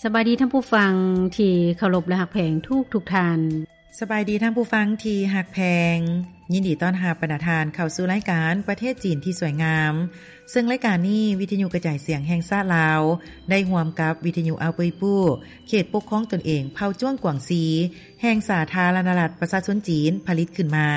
ສະບາຍດີທ່ານຜູ້ຟັງທີ່ເຄົາລົບ ແລະ ຮັກແພງທຸກໆທ່ານ. ສະບາຍດີທ່ານຜູ້ຟັງທີ່ຮັກແພງ. ຍິນດີຕ້ອນຮັບບັນດາທ່ານເຂົ້າສູ່ລາຍການປະເທດຈີນທີ່ສວຍງາມ, ເຊິ່ງລາຍການນີ້ ວິທະຍຸກະຈາຍສຽງແຫ່ງຊາດລາວ ໄດ້ຮ່ວມກັບວິທະຍຸອາວເປີຍປູ້ ເຂດປົກຄອງຕົນເອງເຜົ່າຈວງກວາງຊີ ແຫ່ງສາທາລະນະລັດປະຊາຊົນຈີນ ຜະລິດຂຶ້ນມາ.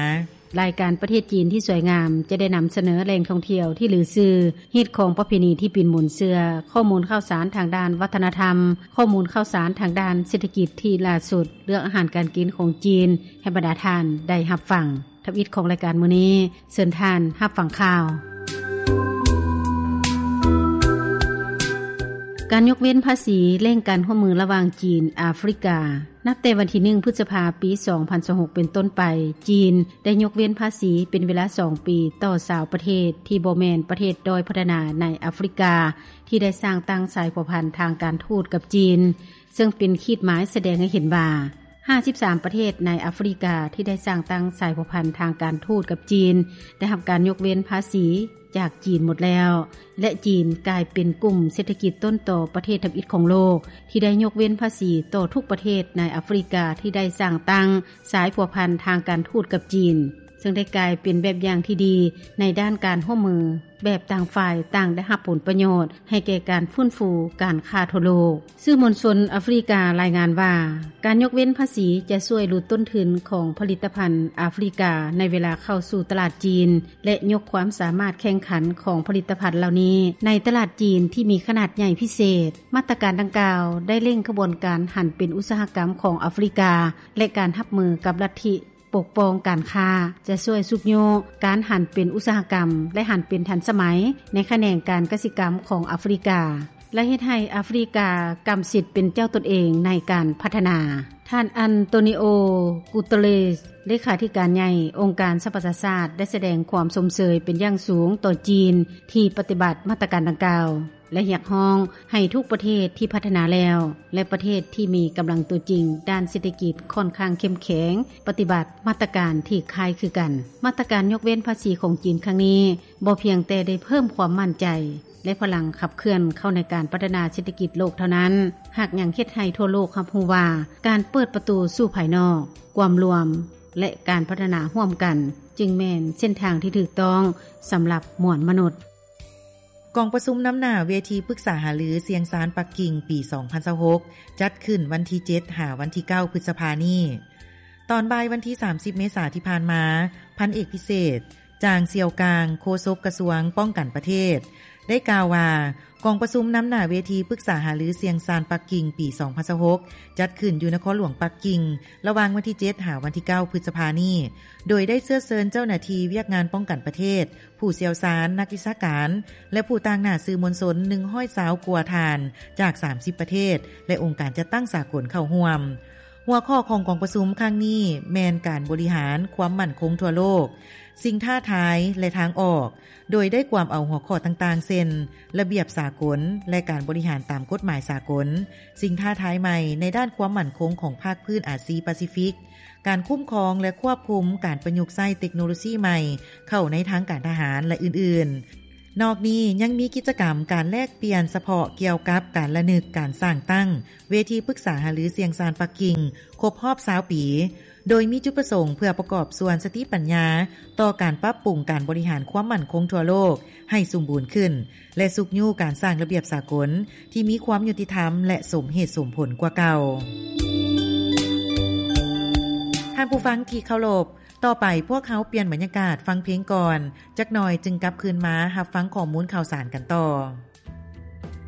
ລາຍການປະເທດຈີນທີ່ສວຍງາມ ຈະໄດ້ນຳສະເໜີແຫຼ່ງທ່ອງທ່ຽວທີ່ລືຊື່, ຮີດຄອງປະເພນີທີ່ປິ່ນໝູນເຊື່ອ, ຂໍ້ມູນຂ່າວສານທາງດ້ານວັດທະນະທຳ, ຂໍ້ມູນຂ່າວສານທາງດ້ານເສດຖະກິດທີ່ລ່າສຸດ, ເລື່ອງອາຫານການກິນຂອງຈີນ ໃຫ້ບັນດາທ່ານໄດ້ຮັບຟັງ. ທຳອິດຂອງລາຍການມື້ນີ້, ເຊີນທ່ານຮັບຟັງຂ່າວ. ການຍົກເວັ້ນພາສີ ເລັ່ງການຮ່ວມມືລະຫວ່າງຈີນ-ອາຟຣິກາ. ນັບແຕ່ວັນທີໜຶ່ງ ພຶດສະພາ ປີສອງພັນຊາວຫົກ ເປັນຕົ້ນໄປ, ຈີນໄດ້ຍົກເວັ້ນພາສີເປັນເວລາສອງປີຕໍ່ຊາວປະເທດທີ່ບໍ່ແມ່ນປະເທດດ້ອຍພັດທະນາໃນອາຟຣິກາ ທີ່ໄດ້ສ້າງຕັ້ງສາຍພົວພັນທາງການທູດກັບຈີນ, ເຊິ່ງເປັນຂີດໝາຍສະແດງໃຫ້ເຫັນວ່າ ຫ້າສິບສາມປະເທດໃນອາຟຣິກາທີ່ໄດ້ສ້າງຕັ້ງສາຍພົວພັນທາງການທູດກັບຈີນ ໄດ້ຮັບການຍົກເວັ້ນພາສີຈາກຈີນໝົດແລ້ວ ແລະ ຈີນກາຍເປັນກຸ່ມເສດຖະກິດຕົ້ນຕໍປະເທດທຳອິດຂອງໂລກ ທີ່ໄດ້ຍົກເວັ້ນພາສີຕໍ່ທຸກປະເທດໃນອາຟຣິກາທີ່ໄດ້ສ້າງຕັ້ງສາຍພົວພັນທາງການທູດກັບຈີນ, ເຊິ່ງໄດ້ກາຍເປັນແບບຢ່າງທີ່ດີໃນດ້ານການຮ່ວມມືແບບຕ່າງຝ່າຍຕ່າງໄດ້ຮັບຜົນປະໂຫຍດໃຫ້ແກ່ການຟື້ນຟູການຄ້າທົ່ວໂລກ. ສື່ມວນຊົນອາຟຣິກາລາຍງານວ່າ ການຍົກເວັ້ນພາສີຈະຊ່ວຍຫຼຸດຕົ້ນທຶນຂອງຜະລິດຕະພັນອາຟຣິກາໃນເວລາເຂົ້າສູ່ຕະຫຼາດຈີນ ແລະ ຍົກຄວາມສາມາດແຂ່ງຂັນຂອງຜະລິດຕະພັນເຫຼົ່ານີ້ໃນຕະຫຼາດຈີນທີ່ມີຂະໜາດໃຫຍ່ພິເສດ. ມາດຕະການດັ່ງກ່າວໄດ້ເລັ່ງຂະບວນການຫັນເປັນອຸດສາຫະກຳຂອງອາຟຣິກາ ແລະ ການຮັບມືກັບລັດທິປົກປ້ອງການຄ້າ ຈະຊ່ວຍຊຸກຍູ້ການຫັນເປັນອຸດສາຫະກຳ ແລະ ຫັນເປັນທັນສະໄໝໃນຂະແໜງການກະສິກຳຂອງອາຟຣິກາ ແລະ ເຮັດໃຫ້ອາຟຣິກາກຳສິດເປັນເຈົ້າຕົນເອງໃນການພັດທະນາ. ທ່ານ ອັນໂຕນິໂອ ກູເຕີເຣສ ເລຂາທິການໃຫຍ່ອົງການສະຫະປະຊາຊາດ ໄດ້ສະແດງຄວາມຊົມເຊີຍເປັນຢ່າງສູງຕໍ່ຈີນທີ່ປະຕິບັດມາດຕະການດັ່ງກ່າວ ແລະ ຮຽກຮ້ອງໃຫ້ທຸກປະເທດທີ່ພັດທະນາແລ້ວ ແລະ ປະເທດທີ່ມີກຳລັງຕົວຈິງດ້ານເສດຖະກິດຂ້ອນຂ້າງເຂັ້ມແຂງ ປະຕິບັດມາດຕະການທີ່ຄ້າຍຄືກັນ. ມາດຕະການຍົກເວັ້ນພາສີຂອງຈີນຄັ້ງນີ້ ບໍ່ພຽງແຕ່ໄດ້ເພີ່ມຄວາມໝັ້ນໃຈ ແລະ ພະລັງຂັບເຄື່ອນເຂົ້າໃນການພັດທະນາເສດຖະກິດໂລກເທົ່ານັ້ນ, ຫາກຍັງເຮັດໃຫ້ທົ່ວໂລກຮັບຮູ້ວ່າ ການເປີດປະຕູສູ່ພາຍນອກ, ກວາມລວມ ແລະ ການພັດທະນາຮ່ວມກັນ ຈຶ່ງແມ່ນເສັ້ນທາງທີ່ຖືກຕ້ອງສຳລັບມວນມະນຸດ. ກອງປະຊຸມນຳໜ້າເວທີປຶກສາຫາລືຊຽງຊານປັກກິ່ງປີສອງພັນຊາວຫົກ ຈັດຂຶ້ນວັນທີເຈັດ ຫາວັນທີເກົ້າ ພຶດສະພານີ້. ຕອນບ່າຍວັນທີສາມສິບ ເມສາທີ່ຜ່ານມາ, ພັນເອກພິເສດ ຈາງ ຊຽວກາງ ໂຄສົກກະຊວງປ້ອງກັນປະເທດ ໄດ້ກ່າວວ່າ ກອງປະຊຸມນຳໜ້າເວທີປຶກສາຫາລືຊຽງຊານປັກກິ່ງປີສອງພັນຊາວຫົກ ຈັດຂຶ້ນຢູ່ນະຄອນຫຼວງປັກກິ່ງ ລະຫວ່າງວັນທີເຈັດ ຫາວັນທີເກົ້າ ພຶດສະພານີ້, ໂດຍໄດ້ເຊື້ອເຊີນເຈົ້າໜ້າທີ່ວຽກງານປ້ອງກັນປະເທດ, ຜູ້ຊ່ຽວຊານ, ນັກວິຊາການ ແລະ ຜູ້ຕາງໜ້າສື່ມວນຊົນ ໜຶ່ງຮ້ອຍຊາວກວ່າທ່ານ ຈາກສາມສິບປະເທດ ແລະ ອົງການຈັດຕັ້ງສາກົນເຂົ້າຮ່ວມ. ຫົວຂໍ້ຂອງກອງປະຊຸມຄັ້ງນີ້ແມ່ນການບໍລິຫານຄວາມໝັ້ນຄົງທົ່ວໂລກ, ສິ່ງທ້າທາຍ ແລະ ທາງອອກ, ໂດຍໄດ້ກວມເອົາຫົວຂໍ້ຕ່າງໆ ເຊັ່ນ ລະບຽບສາກົນ ແລະ ການບໍລິຫານຕາມກົດໝາຍສາກົນ, ສິ່ງທ້າທາຍໃໝ່ໃນດ້ານຄວາມໝັ້ນຄົງຂອງພາກພື້ນອາຊີປາຊີຟິກ, ການຄຸ້ມຄອງ ແລະ ຄວບຄຸມການປະຍຸກໃຊ້ເຕັກໂນໂລຊີໃໝ່ເຂົ້າໃນທາງການທະຫານ ແລະ ອື່ນໆ. ນອກນີ້ຍັງມີກິດຈະກຳການແລກປ່ຽນສະເພາະກ່ຽວກັບການລະນຶກການສ້າງຕັ້ງເວທີປຶກສາຫາລືຊຽງຊານປັກກິ່ງຄົບຮອບຊາວປີ, ໂດຍມີຈຸດປະສົງເພື່ອປະກອບສ່ວນສະຕິປັນຍາຕໍ່ການປັບປຸງການບໍລິຫານຄວາມໝັ້ນຄົງທົ່ວໂລກໃຫ້ສົມບູນຂຶ້ນ ແລະ ຊຸກຍູ້ການສ້າງລະບຽບສາກົນທີ່ມີຄວາມຍຸຕິທຳ ແລະ ສົມເຫດສົມຜົນກວ່າເກົ່າ. ທ່ານຜູ້ຟັງທີ່ເຄົາລົບ, ຕໍ່ໄປພວກເຮົາປ່ຽນບັນຍາກາດຟັງເພງກ່ອນ, ຈັກໜ່ອຍຈຶ່ງກັບຄືນມາຮັບຟັງຂໍ້ມູນຂ່າວສານກັນຕໍ່.